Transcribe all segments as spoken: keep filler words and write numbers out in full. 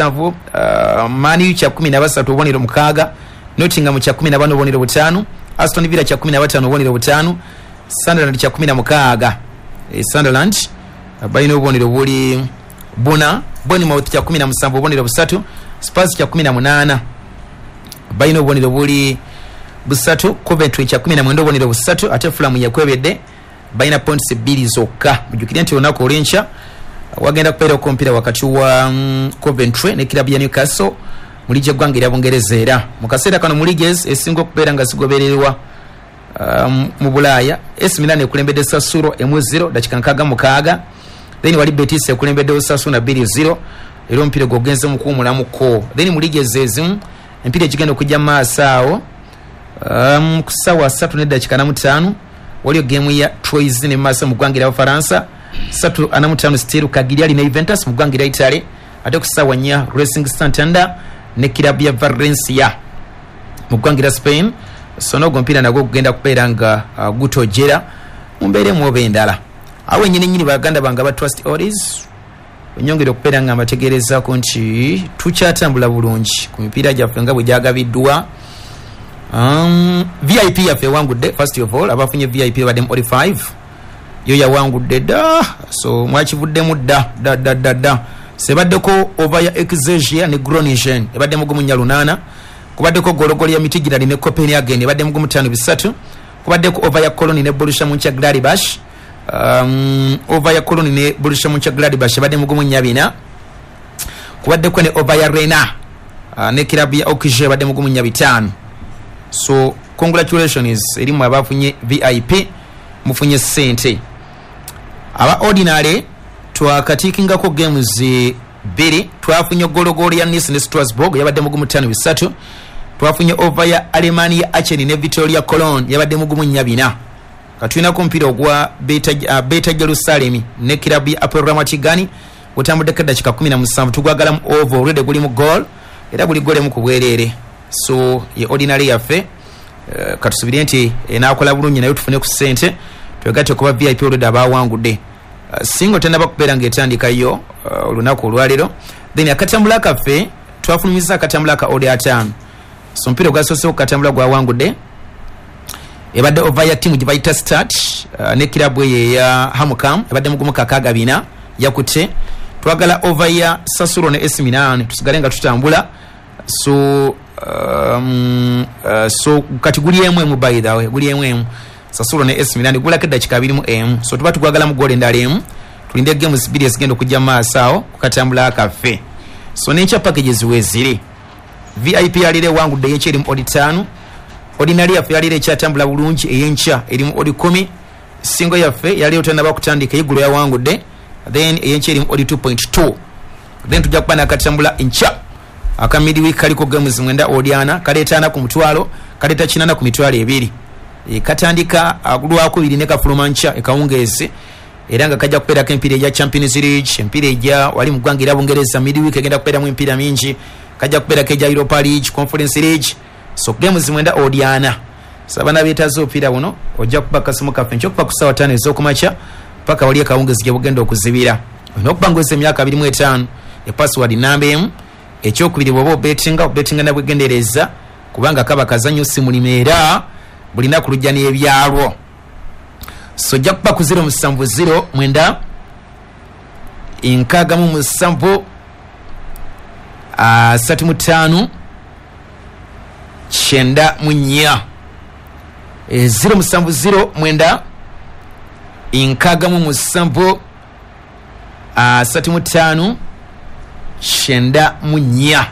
musanvu, uh, Man U kya kumi na basatu obubonero mukaaga, Nottingham kya kumi na bana obubonero butaano, Aston Villa kya kumi na bataano obubonero butaano, Sunderland kya kumi na mukaaga. E, Sunderland balina obubonero buli buna, Bournemouth kya kumi na musanvu obubonero busatu, Spurs kya kumi na munaana balina obubonero buli busatu, Coventry kya kumi na mwenda obubonero busatu, ate Fulham yakwebedde balina points bbiri zokka. Mujjukire nti olunaku olw'enkya wagenda kubeerako omupiira wakati wa mm, Coventry ne kirabu ya Newcastle mu liigi y'eggwanga erya Bungereza. Era mu kaseera kano mu liigi esinga okubeera nga zigobererwa um, mu Bulaaya, A C Milan ekulembedde Sassuolo emu zero dakika nkaaga mukaaga, then wali Betis ekulembedde Osasuna bbiri zero, era omupiira gwogenze mu kuwumulamuko. Then mu liigi ezo ezimu emipiira egigenda okujja mu maaso awo, um, ku ssaawa ssatu n'eddakiika na mutaano waliyo geemu ya Troyes ne maaso mu ggwanga erya Bufaransa, ssatu ana mu ttaano still Cagliari ne Juventus mu ggwanga erya Italy, ate ku ssaawa nnya Racing Santander ne kirabu ya Valencia mu ggwanga erya Spain. So n'ogwo omupiira nagwo gugenda kubeera nga uh, gutojera mu mbeera emu oba endala. Awo ennyini nnyini, baganda bange aba Trust Oldies, nyongere okubeera nga mbategeerezaako nti tukyatambula bulungi ku mipiira gyaffe nga bwe gyagabiddwa. um, V I P yaffe ewangudde. First of all, abafunye V I P baddemu odi five, yo yawangudde dda, so mwakivuddemu dda dda dda dda dda. Sebaddeko over ya Excelsior ne Groningen, ebadde mu gumu nnya lunaana. Kubaddeko gologolo ya Midtjylland ne Copenhagen, ebadde mu gumu ttaano bisatu. Kubaddeko over ya Cologne ne Borussia Mönchengladbach, um, over ya Cologne ne Borussia Mönchengladbach ebadde mu gumu nnya bina. Kubaddeko ne over ya Rennes uh, ne kirabu ya Auxerre, ebadde mu gumu nnya bitaano. So congratulations erimu abafunye V I P, mufunye ssente. Aba ordinary twakatikingako games bbiri. Twafunye gologolo ya Nice ne Strasbourg, yabadde mugumu ttaano bisatu. Twafunye over ya Alemannia Aachen ne Victoria Cologne, yabadde mugumu nnya bina. Katulinako omupiira ogwa Beta, uh, Beta Jerusalem ne kirabu ya Hapoel Ramat Gan, gutambuddeko eddakiika kumi na musanvu. Tugwagalamu over, already guli mu goal, era guli goal emu ku bwereere. So ye ordinary yaffe, uh, katusubire nti enaakola bulungi naye tufune ku ssente twegatte kuba V I P already abawangudde. uh, singo tenaba kubeera ng'etandikayo uh, olunaku olwaleero. Then akatambula kaffe twafulumiza akatambula ka odi ataano. So omupiira ogwasoose okukatambula gwawangudde, ebadde over ya tiimu gye bayita Start uh, ne kirabu eyo eya Hamukam, ebadde mugumu kakaaga bina, yakutte. Twagala over ya Sassuolo ne A C Milan, tusigale nga tutambula. So um, uh, so kati guli emu emu, by the way, guli emu emu, Sassuolo ne A C Milan, gulako eddakiika abiri mu emu. So tuba tugwagalamu goal endala emu, tulinde games bbiri ezigenda okujja mu maaso awo kukatambula kaffe. So n'enkya packages weeziri. V I P yalira ewangudde, eyenkya erimu odi ttaano. Ordinary yaffe yalira ekyatambula bulungi, eyenkya erimu odi kumi. Singo yaffe yali otanaba kutandika, eyeggulo yawangudde, then eyenkya erimu odi two point two. Then tujja kuba nakatambula enkya aka midweek, kaliko games mwenda, odi ana, kaleeta ana ku mutwalo, kaleeta kinana ku mitwalo ebiri. E, katandika lwakubiri ne kafuluma nkya ekawungeezi, era nga kajja kubeerako empiira egya Champions League, empiira egya wali mu ggwanga era Bungereza. Midweek egenda kubeeramu empiira mingi, kajja kubeerako egya Europa League, Conference League. So games mwenda, odi ana. So abaana beetaaze obupiira buno, ojja kuba kasimu kaffe nkyokuva ku ssaawa ttaano ez'okumakya paka wali ekawungezi gye bugenda okuzibira. Olina okuba ng'oweza emyaka abiri mu etaano, e password namba emu. Ekyokubiri, bw'oba obetinga, obetinga nabwegendereza, kubanga kaba kazannyo, si mulimu, era bulinaku lujja n'ebyalwo. So ojja kuba ku zero musanvu zero mwenda nkaaga mu musanvu asatu mu ttaano kyenda mu nnya, zero musanvu zero mwenda nkaaga mu musanvu asatu mu ttaano kyenda mu nnya,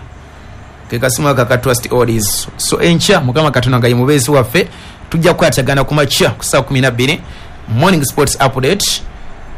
ke kasimu aka ka Trust Oldies. So enkya, Mukama Katonda nga ye mubeezi waffe, tujja kukwatagana ku makya ku ssaawa kumi na bbiri, morning sports update.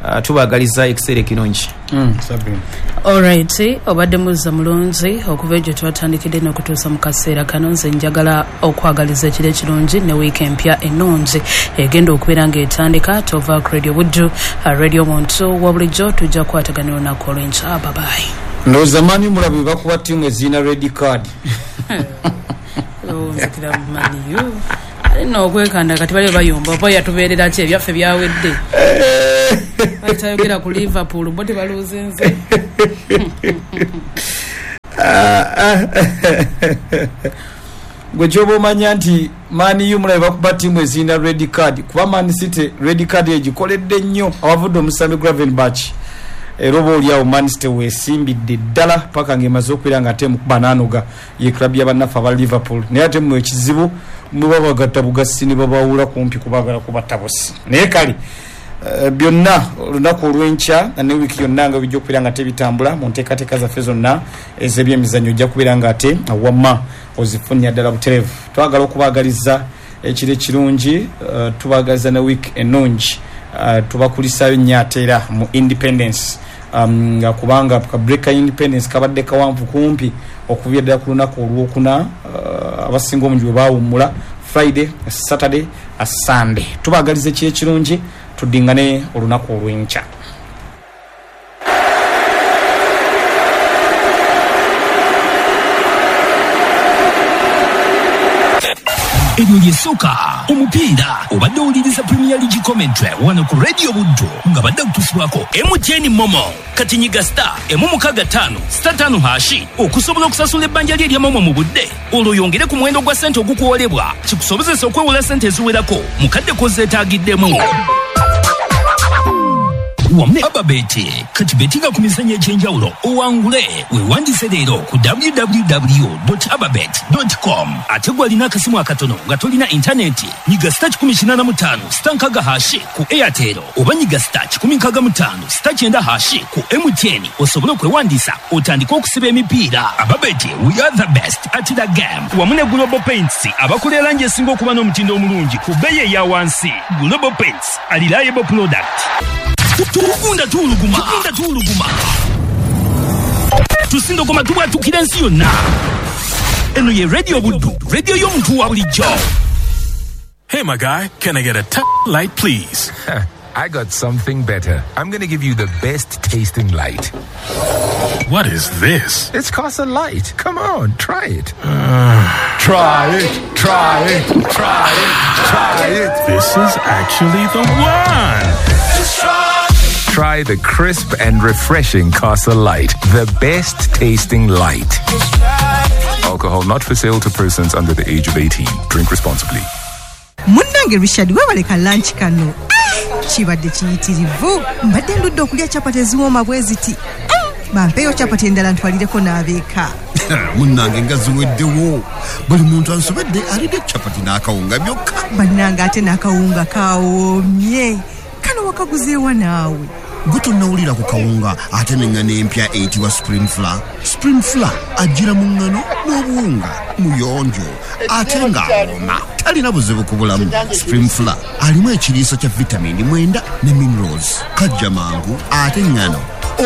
uh, tubagaliza ekiseera ekirungi. Mm, Sabrina. Alright, obadde muzza mulungi okuva egyo twatandikidde n'okutuusa mu kaseera kano. Nze njagala okwagaliza ekiro ekirungi ne wiiki empya ennungi egenda okubeera ng'etandika. Tova ku Radio Buddu, uh, radio muntu wa bulijjo. Tujja kukwatagana olunaku olw'enkya. Babayi. Ndowooza mani mulabi bakuba ttiimu ezirina red card. Nzikira maniyo alina okwekanda kati bali bayomba oba yatubeerera ki, ebyaffe byawedde. Batayogera ku Liverpool, bo tebaluuzinze. Gwe kyoba omanya nti Man U mulabe bakuba ttiimu ezirina red card, kuba Man City red card egikoledde nnyo awavudde omusambi Gravenberch, era oba oliawo Man City weesimbidde ddala paka ng'emaze okubeera nga ate mukuba n'anoga ye club y'abannaffe aba Liverpool. Naye ate mmwe ekizibu mwe babagatta bugasi ne babawula kumpi kubaagala kubatta busi. Naye kale Uh, byonna olunaku olw'enkya ne wiiki yonna nga bijja okubeera nga tebitambula mu nteekateeka zaffe zonna ez'ebyemizannyo, ojja kubeera nga ate wamma ozifunira ddala butereevu. Twagala okubaagaliza ekiro ekirungi, uh, tubaagaliza ne wiiki ennungi, uh, tubakulisaayo nnyo ate era mu Independence, um, nga kubanga ka break ka Independence kabadde kawanvu kumpi okuviira ddala ku lunaku olwokuna, uh, abasinga obungi bwe baawummula Friday, Saturday, Sunday. Tubaagaliza ekiro ekirungi, tuddingane olunaku olw'enkya. Eryo lyesooka omupiira obadde owuliriza Premier League commentary wano ku Radio Buddu nga badde kutusibwako M T N Momo. Kati nyiga star emu mukaaga ttaano star ttaano hashi okusobola okusasula ebbanja lye erya Momo mu budde, olwo oyongere ku muwendo gwa ssente ogukuwolebwa kikusobozesa okwewola ssente eziwerako mu kadde k'ozeetaagiddemu. Wamu ne Ababeti kati betinga ku mizannyo egy'enjawulo owangule. Weewandise leero ku w w w dot ababet dot com. Ate gw'alina akasimu akatono nga tolina intaneti, nyiga star kikumi kinaana mu ttaano star nkaaga hashi ku Airtel oba nyiga star kikumi nkaaga mu ttaano star kyenda hashi ku M T N osobole okwewandiisa otandike okusiba emipiira. Ababeti, we are the best at the game. Wamu ne Global Paints abakola erangi esinga okuba n'omutindo omulungi ku bbeeyi eya wansi. Global Paints, a reliable product. Tugunda tuuluguma, tugunda tuuluguma, tusindogoma tubwatukira ensi yonna. Eno ye Radio Buddu, radio y'omuntu wa bulijjo. Hey my guy, can I get a t- light please? I got something better. I'm gonna give you the best tasting light. What is this? It's Casa Light. Come on, try it. Uh, try it, try it, try it, try it. This is actually the one. Try the crisp and refreshing Casa Light, the best tasting light. Alcohol not for sale to persons under the age of eighteen. Drink responsibly. Munnange Richard, webaleka lunch kano. Kibadde kiyitirivu. Mbadde ndudde okulya chapati eziwooma bwe ziti. Bampeeyo chapati endala ntwalireko n'abeeka. Munnange nga ziweddewo. Buli muntu ansobedde alidde chapati n'akawunga byokka. Bannange ate n'akawunga kawoomye. Kano wakaguzeewa naawe. Gwe tonnawulira ku kawunga ate n'eŋŋano empya eyitibwa Spring Flour. Spring Flour ajjira mu ŋŋano n'obuwunga, muyonjo ate ng'awooma, talina buzibu ku bulamu. Spring Flour alimu ekiriisa kya vitamini mwenda ne minerals, kajja mangu ate ŋŋano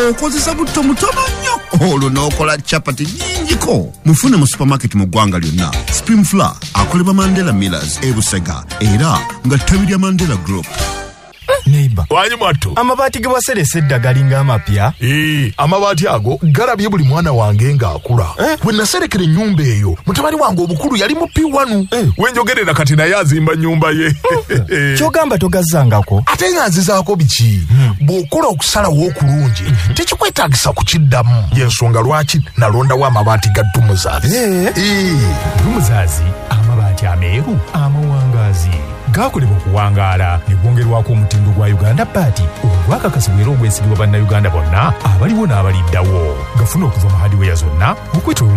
okozesa butto mutono nnyo olwo n'okola chapati nnyingiko. Mufune mu supermarket mu ggwanga lyonna. Spring Flour akolebwa Mandela Millers e Busega era nga ttabi lya Mandela Group. Neighbor. Wanyi mwattu. Amabaati ge waserese edda galinga amapya. Ee, amabaati ago galabye buli mwana wange ng'akula. Eh? We naserekera ennyumba eyo, mutabani wange omukulu yali mu P one. Eh. We njogerera kati naye azimba nnyumba ye. Ky'ogamba togazzangako? Ate nga nzizaako biki? Hmm. Bw'okola okusalawo okulungi, hmm. tekikwetaagisa kukiddamu. Y'ensonga lwaki nalondawo amabaati ga Dumuzaazi. Eh. Ee. Dumuzaazi, amabaati ameeru, amawangaazi. Gakolebwa okuwangaala ne gwongerwako omutindo gwa Uganda Baati ogwakakasibwa era ogwesigibwa bannayuganda bonna abaliwo n'abaliddawo. Gafuna okuva mu hardware zonna okwetooloola.